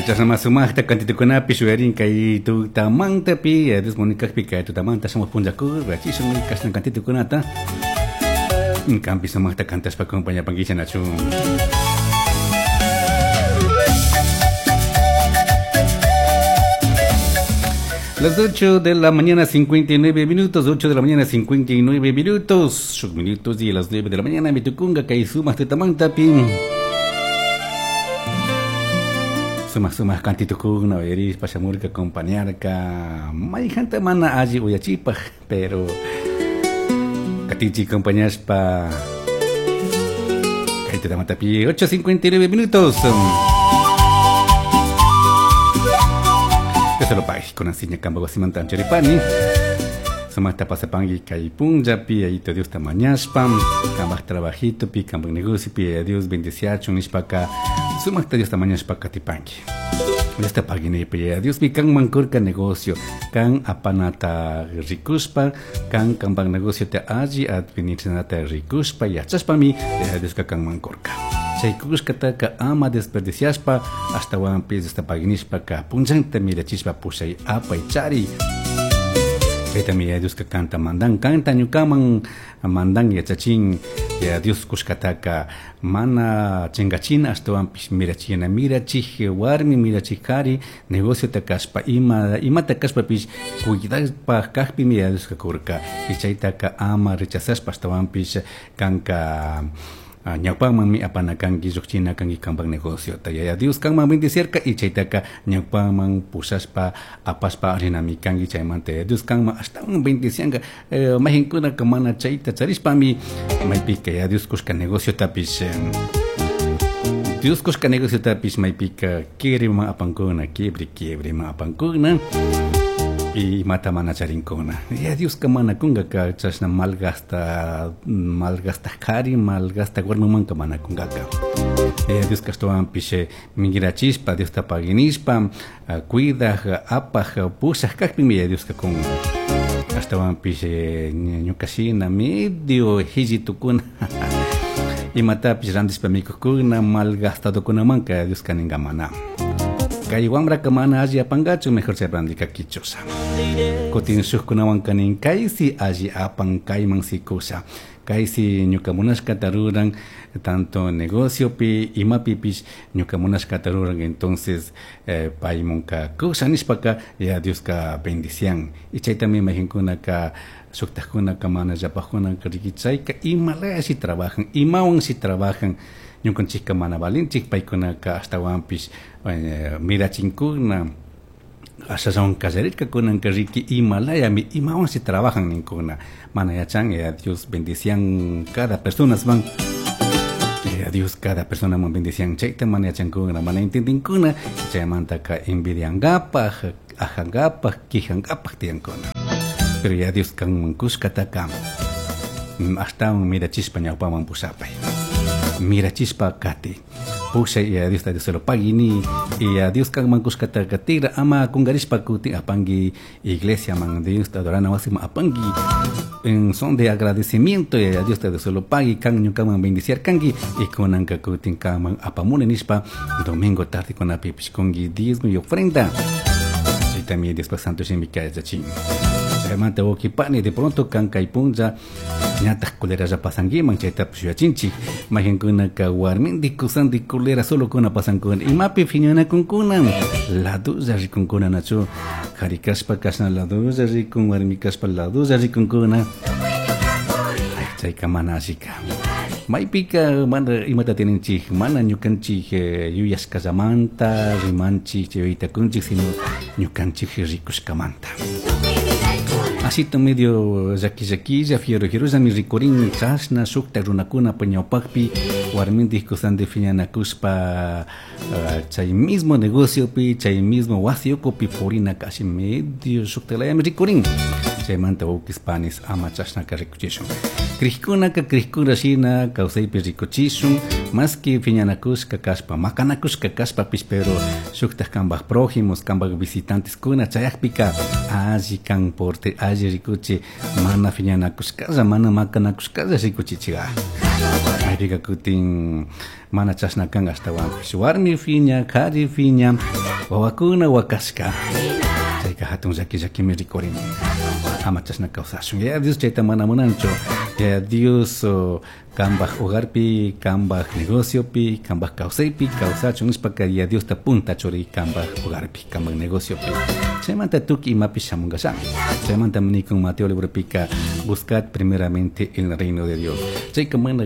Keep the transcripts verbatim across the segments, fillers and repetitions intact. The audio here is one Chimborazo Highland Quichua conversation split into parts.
Chasna sumaqta kantitukunapi shuyarin kay tutamantapi Dios munikaqpi kay tutamanta shamuq punllakur rachishun kashna kantitukunata kampi sumaqta kantashpa acompañapankichik nachu. Las ocho de la mañana cincuenta y nueve minutos, ocho de la mañana cincuenta y nueve minutos, ocho minutos y a las nueve de la mañana mitukunga kay sumaq tutamantapi. Sumaq sumaq kantitukuna uyarispa shamurka acompañarka mayjanta mana alli uyachipaj, pero katichi acompañashpa kay tutamantapi ocho cincuenta y nueve minutos. Solo pay con asiña kamba wasimanta anchuripani sumaqta pasapanki kay punllapi ayito Dios ta mañashpa kambaj trabajito pi kambaj negocio pi Dios bendiciachun nishpaka sumaqta Dios ta mañashpa katipanki Dios ta pagini pi Dios mi kan mankurka negocio kan apanata rikushpa kan kambaj negocio te alli administranata rikushpa yachashpami Dios ka kan mankurka chaykushkataka ama desperdiciashpa ashtawanpis Dios ta paginishpaka punllanta mirachishpa pushay apay chari. Chaytami Dios ka kanta mandan kanta ñukaman mandan yachachin ya Dios kushkataka mana chingachina ashtawanpis mirachina mirachij warmi mirachij kari negociota kashpa ima imata kashpapis cuidashpa kajpimi ya Dios ka kurka y chaytaka ama rechazashpa ashtawanpis kanka ñawpamanmi apanakanki lluqchina kanki kanpak negociota yaya Dios kanman bendecirka y chaytaka ñawpaman pushashpa apashpa rinami kanki chaymanta yaya Dios kanman ashtawan bendicianka eh, mayqinkunaka mana chayta charishpami maypika yaya Dios kushka negociotapish eh, Dios kushka negociotapish maypika quiebriman apankuna quiebri quiebriman apankuna y mata mana charinkuna ya Dios ka mana kungaka chashna malgasta malgasta kari malgasta warmimanka mana kungaka ya Dios ka ashtawanpish mingrachispa Dios ta paginishpa cuidaj apaj pushaj kajpimi ya Dios ka kun ashtawanpish ñukashina medio hillitukuna imatapish rantishpa mikukuna malgastadokunamanka Dios ka ninka mana kay wamraka mana alli apankachu mejor chay randika kichusha kutin shukkunawan kanin kaysi alli apan kayman sikusha kaysi ñuka munashkata ruran tanto negociopi imapipish ñuka munashkata ruran entonces eh, paymunka kusha nishpaka ya Dioska bendician y chaytami mayqinkunaka shuktajkunaka mana llapajkunaka riki chayka imalaya si trabajan imawan si trabajan ñukanchikka mana valinchik paykunaka ashtawanpish eh, mirachinkuna ashallawan kallarirkakunanka riki imalayami imawan si trabajan ninkuna mana yachan ya Dios bendician cada personas van ya Dios cada persona man bendician chayta mana yachankuna mana entendinkuna chaymantaka envidiankapaj ajankapaj quijankapaj tiyankuna pero ya Dios kanman kushkataka ashtawan mirachispa ñawpaman pushapay mirachispa kati pushay y a Dios ta Dios lo pagini y a Dios kanman kushkata katira ama kungarishpa kuti apangi iglesia man Dios ta adorana wasima apangi en son de agradecimiento y a Dios ta Dios lo pagui kan ñukaman bendiciar kangi y kunanka kutin kaman apamuni nishpa domingo tarde con apipish kungi diezmo y ofrenda y también después santo shimika yachachin chaymanta wawqipani de pronto kan kay punlla ñataq culeralla pasankiman chaytapish yuyachinchik mayqinkunaka warmindik kusandik culera solo kuna pasankuna imapi phiñanakunkuna ladulla rikunkuna nachu qhari kashpa kashna ladulla rikun warmi kashpa ladulla rikunkuna chayka mana allika maypika mana imata tininchik mana ñukanchik eh, yuyashkallamanta rimanchik chayuytakunchik sino ñukanchik rikushkamanta asito medio llaki llakilla fiero fierollami rikurin chashna shukta runakuna ñawpakpi warmindik kusandi phiñanakushpa uh, chay mismo negociopi chay mismo wasi ukupi purina kashi medio shuktalayami rikurin chaymanta wawqis panis ama chashnaka rikuchishun Krikkunaka krikkuna shina kawsaypi rikuchishun maski phiñanakushka kashpa makanakushka kashpapish pero shuktaq kanpaj prójimos kanpaj visitanteskuna chayaqpika alli kan porte alli rikuchi mana phiñanakushkalla mana makanakushkalla rikuchichika maypika kutin mana chashna kan ashtawanpish warmi phiña qhari phiña Wawakuna wakashka. Chayka hatun llaki llakimi rikurin. Ama chashna kawsashun. Yaya Dios chayta mana munanchu. Yaya Dios kambaj hogarpi, kambaj negociopi, kambaj kawsaypi kawsachun nishpaka Yaya Diosta punta churi kambaj hogarpi, kambaj negociopi. Chaymanta tukuy imapi shamunkallami. Chaymanta nikun Mateo libropika buscad primeramente el reino de Dios. Chayka mana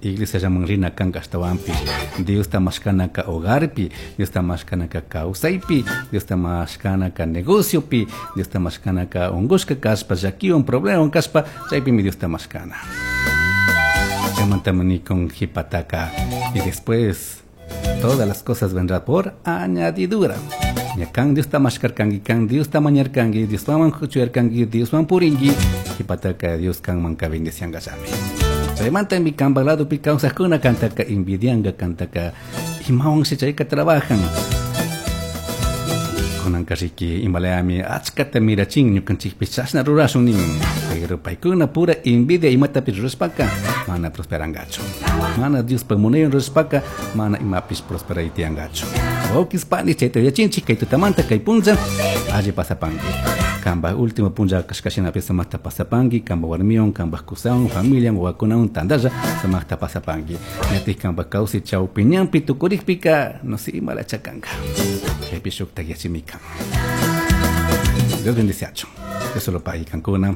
iglesia llaman rina kanka ashtawanpish. Diosta mashkanaka hogarpi, Diosta mashkanaka kawsaypi, Diosta mashkanaka negociopi, Diosta mashkanaka ungushka kashpa, llakiwan problemawan kashpa, chaypimi Diosta mashkana. Chaymanta nikun jipataka y después todas las cosas vendrán por añadidura. Ya kan Diosta mashkarkanki, kan Diosta mañarkanki, Dioswan kuchuyarkanki, Dioswan purinki, jipataka Dios kanmanka bendiciankallami. Chaymanta mi kanpa ladopi kawsajkuna kantaka envidianka, kantaka imawanshi chayka trabajan. Kunanka riki imalayami achkata mirachin ñukanchikpi chashna rurashun nin. Pero paykuna pura envidia imatapish rurashpaka mana prosperangachu. Mana Diospa munaywan rurashpaka mana imapish prosperay tiyangachu. Wawkis pani chayta yachinchik kay tutamanta kay punlla alli pasapanki. Kamba último punlla kashkashinapi sumaqta pasapanki, kamba warmiwan, kamba kusawan, familian, wawakunawan tantalla sumaqta pasapanki. Ñatik kamba kawsay chawpi ñanpi tukurikpika no sé imala chakanka. Chaypi shukta yachimika. Dios bendiciachu. Dios solo pagui kankuna.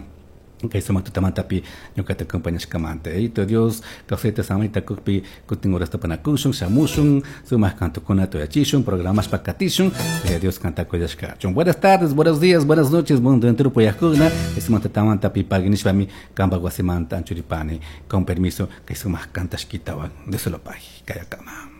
Kay sumaq tutamantapi ñuqata acompañashkamanta. Yayito Dios kawsayta samayta kukpi kutin horasta panakushun, shamushun, sumaq kantukunata uyachishun, programashpa katishun, Dios kantakuyashkachun. Buenas tardes, buenos días, buenas noches, mundo entero puyajkuna. Sumaq tutamantapi pagui nishpami kanpa wasimanta anchuripani. Con permiso, kay sumaq kantashkitawan. Dios solo pagui. Kayakama.